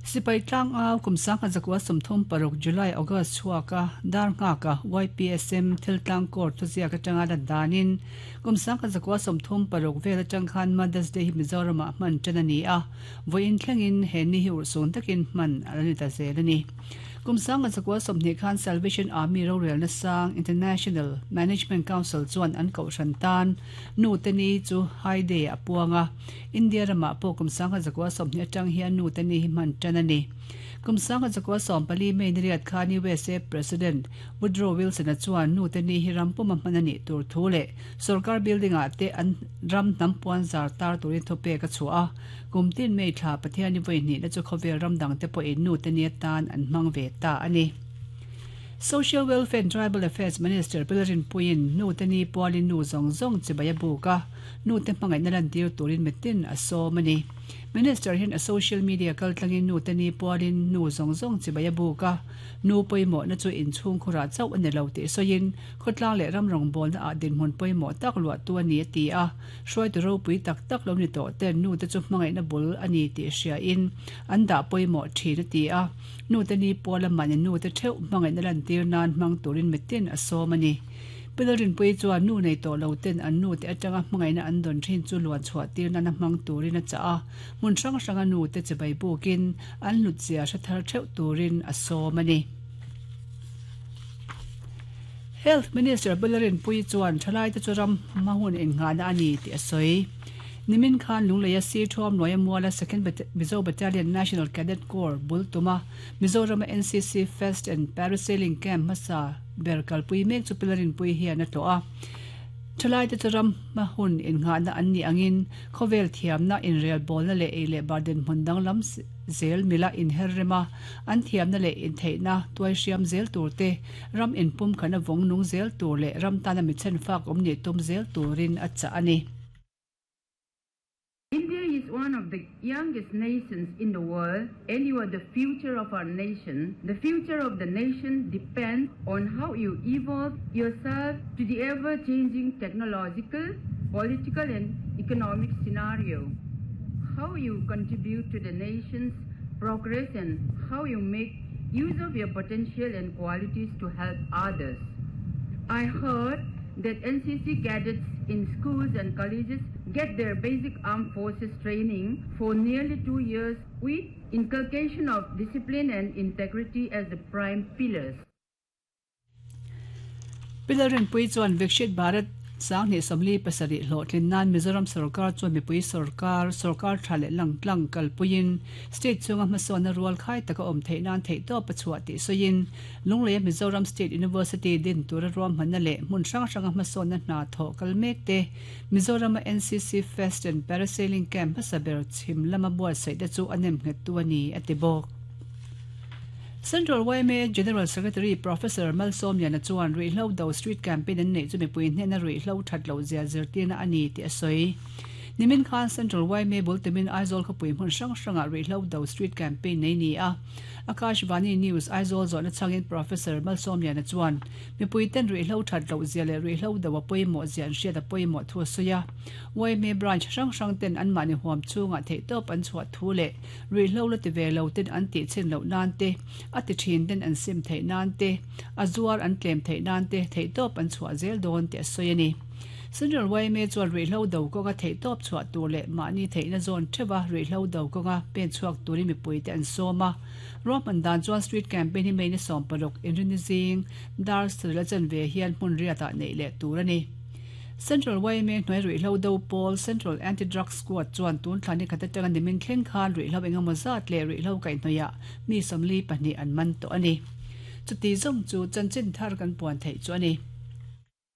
Sipai tlangau kum 1936 July August chhuaka dar nghaka YPSM thil tlang court thuziak atanga lan danin kum 1936 vel atang khan Mother's Day hi Mizoramah hman tan a ni a, vawiin thlengin he ni hi urhsun takin hman a la ni ta zel a ni. Kum 1920 khan Salvation Army rorelna sang International Management Council chuan an kohhran tan Nu te ni chu High Day a puang a, India ramah pawh kum 1920 atang hian Nu te ni hi hman tan a ni. Kum 1914 May ni riat khan USA President Woodrow Wilson-a chuan Nu te ni hi ram puma hman a nih tur thu leh Sorkar building ah te an ram hnam puan zar tar turin thupek a chhuah a, kum tin May thla Pathian i vawi hnihna chu khawvel ram dang te pawhin nu te ni atan an hmang ve ta a ni. Social Welfare and Tribal Affairs Minister Pi Rinpuiin nu te ni pualin nu zawng zawng chibai a buk a, nu te hmangaihna lantir turin mitin a sawm a ni. Minister hian a social media kaltlangin nu te ni pualin nu zawng zawng chibai a buk a, nu pawimawhna chu inchhungkhurah chauh a ni lo tih sawiin, Khawtlang leh ram rawngbawlna ah dinhmun pawimawh tak luahtu a ni a ti a, hruaitu ropui tak tak lo ni tawh ten nute chu hmangaihna bul a ni tih hriain an dah pawimawh thin a ti a, nute ni pawl a mahni nute theuh hmangaihna lantir nan hmang turin mitin a sawm a ni. Pi Lalrinpuii chuan nu nei tawh lo ten an nute atanga hmangaihna an dawn thin chu luan chhuah tir nana hmang turin a chah a, hmun hrang hranga nute chibai bukin an hlutzia hre thar theuh turin a sawm a ni. Health Minister Bularinpuii chuan thalaite chu ram hma hun innghahna a ni tih a sawi. Nimin khan Lungleia Sir Thuamluaia Muala Second Mizo Battalion National Cadet Corps bul tuma Mizorama NCC Fest and Parasailing Camp hmasa ber kalpui mek chu Pilarinpuii hian a tlawh a. Thalaite chu ram hma hun innghahna an nih angin khawvel thiamna, inrelbawlna leh ei leh bar dinhmun danglam zel mila inher rem a, an thiamna leh intheihna tuai hriam zel tur te, ram inpum khan a vawng nung zel tur leh ram tana mi chhenfak awm nih tum zel turin a chah a ni. India is one of the youngest nations in the world and you are the future of our nation. The future of the nation depends on how you evolve yourself to the ever-changing technological, political and economic scenario. How you contribute to the nation's progress and how you make use of your potential and qualities to help others. I heard that NCC cadets in schools and colleges get their basic armed forces training for nearly 2 years with inculcation of discipline and integrity as the prime pillars. Pi Lalrinpuii chuan Vikshit Bharat 2047 hlawhtlin nan Mizoram sorkar chuan mipui sorkar, sorkar tha leh lang tlang kalpuiin state chhunga hmasawnna rual khai taka awm theih nan theihtawp a chhuah tih sawiin Lungleia Mizoram State University din tura ruahmanna leh hmun hrang hranga hmasawnna hna thawh kal mek te Mizorama NCC Fest and Parasailing Camp hmasa ber chhim lama buatsaih te chu a nemnghettu a ni a ti bawk. Central yma General Secretary Professor Malsawmliana chuan ruihhlo do street campaign an neih chu mipui hnena ruihhlo that loh zia zirtirna a ni tih a sawi. Nimin khan Central yma bul tumin Aizawl khawpui hmun hrang hrangah ruihhlo do street campaign nei ni a. Akashvani News Aizawl zawhna changin Professor Malsawmliana chuan mipui ten ruihhlo that loh zia leh ruihhlo do a pawimawh zia an hriat a pawimawh thu a sawi a. Yma branch hrang hrang ten anmahni huam chhungah theihtawp an chhuah thu leh Ruihhlo la ti ve lo ten an tih chhin loh nan te, a ti thin ten an sim theih nan te, a zuar an tlem theih nan te theihtawp an chhuah zel dawn tih a sawi a ni. Central yma chuan ruihhlo do kawnga theihtawp chhuah tur leh mahni theihna zawn theuha ruihhlo do kawnga pen chhuak turin mipuite an sawm a. Ruahman dan chuan street campaign hi May ni 16 inrinni zing dar sarih la chanve hian hmun riatah neih leh tur a ni. Central yma hnuai ruihhlo do pawl Central Anti-Drug Squad chuan tun thla ni khat atanga nimin thleng khan ruihhlo engemaw zat leh ruihhlo kaihhnawihah mi 42 an man tawh a ni. Chuti zawng chu chanchin thar kan puan theih chu a ni.